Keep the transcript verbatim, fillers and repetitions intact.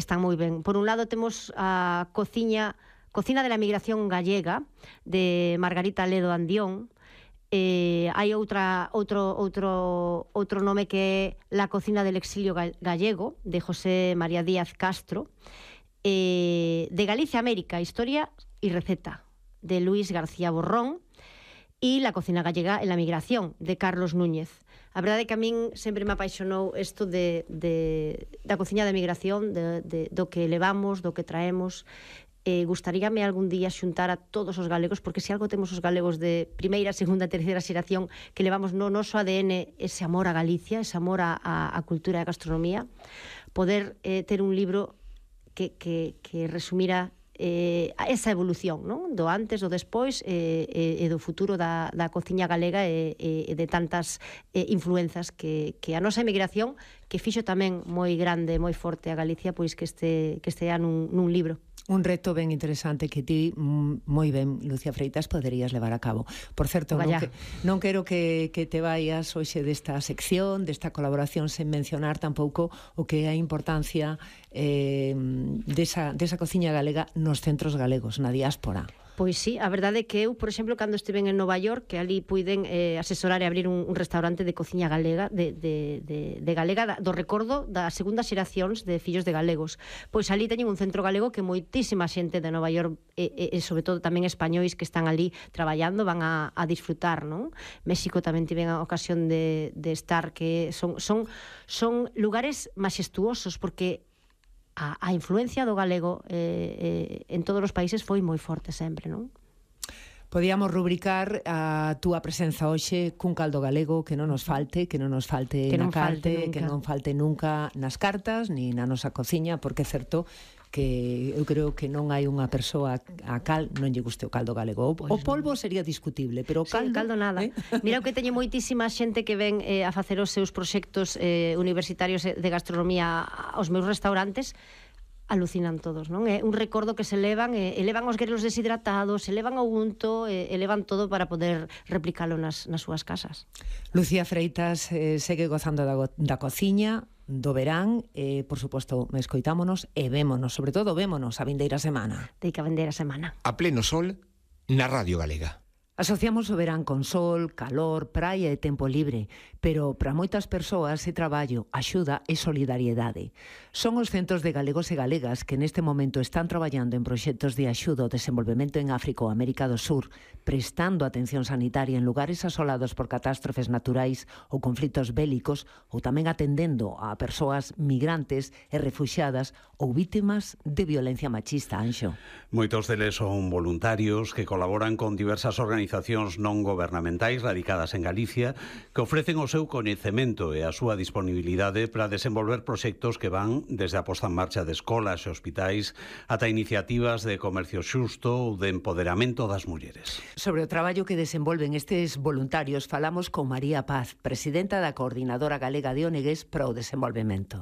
están moi ben. Por un lado temos a cociña Cocina de la Migración Gallega de Margarita Ledo Andión. Eh, hai outra outro outro outro nome que é La Cocina del Exilio Gallego de José María Díaz Castro. Eh, de Galicia América, Historia y Receta de Luis García Borrón. E La Cocina Gallega en la Migración, de Carlos Núñez. A verdade é que a min sempre me apaixonou isto de, de, da cociña de migración, de, de, do que levamos, do que traemos. Eh, gustaríame algún día xuntar a todos os galegos, porque se algo temos os galegos de primeira, segunda, terceira xeración, que levamos no noso A D N ese amor a Galicia, ese amor a, a, a cultura e a gastronomía, poder eh, ter un libro que, que, que resumira eh, esa evolución, non? Do antes, do despois e, e, e do futuro da, da cociña galega e, e de tantas eh, influenzas que, que a nosa emigración, que fixo tamén moi grande, moi forte a Galicia, pois que este, que estea nun, nun libro. Un reto ben interesante que ti, moi ben, Lucía Freitas, poderías levar a cabo. Por certo, non, que, non quero que, que te vayas hoxe desta sección, desta colaboración, sen mencionar tampouco o que é a importancia eh, desa, desa cociña galega nos centros galegos, na diáspora. Pois sí, a verdade é que eu, por exemplo, cando estiven en Nova York, que ali puiden eh, asesorar e abrir un, un restaurante de cociña galega, de, de, de, de galega, do recordo das segundas xeracións de fillos de galegos. Pois ali teñen un centro galego que moitísima xente de Nova York e, e, e sobre todo tamén españois que están ali traballando van a, a disfrutar, non? México tamén tiven a ocasión de, de estar, que son, son, son lugares maxestuosos, porque A, a influencia do galego eh, eh, en todos os países foi moi forte sempre, non? Podíamos rubricar a túa presenza hoxe cun caldo galego que non nos falte, que non nos falte que na non falte carte, que non falte nunca nas cartas, ni na nosa cociña, porque é certo que eu creo que non hai unha persoa a cal non lle guste o caldo galego. O, pues o polvo sería discutible, pero o caldo... Sí, o caldo nada. ¿Eh? Mira que teñe moitísima xente que ven eh, a facer os seus proxectos eh, universitarios de gastronomía aos meus restaurantes, alucinan todos, non? É un recordo que se levan, e elevan os grelos deshidratados, elevan o unto, e elevan todo para poder replicalo nas, nas súas casas. Lucía Freitas eh, segue gozando da, da cociña, do verán, e, por suposto, escoitámonos e vémonos, sobre todo vémonos a vindeira semana. Deica a vindeira semana. A pleno sol, na Radio Galega. Asociamos o verán con sol, calor, praia e tempo libre, pero para moitas persoas é traballo, axuda e solidariedade. Son os centros de galegos e galegas que neste momento están traballando en proxectos de axuda ao desenvolvemento en África ou América do Sur, prestando atención sanitaria en lugares asolados por catástrofes naturais ou conflitos bélicos, ou tamén atendendo a persoas migrantes e refuxiadas ou vítimas de violencia machista, Anxo. Moitos deles son voluntarios que colaboran con diversas organizacións non gobernamentais radicadas en Galicia que ofrecen o seu coñecemento e a súa disponibilidade para desenvolver proxectos que van desde a posta en marcha de escolas e hospitais ata iniciativas de comercio xusto ou de empoderamento das mulleres. Sobre o traballo que desenvolven estes voluntarios falamos con María Paz, presidenta da Coordinadora Galega de O N Gs para o Desenvolvemento.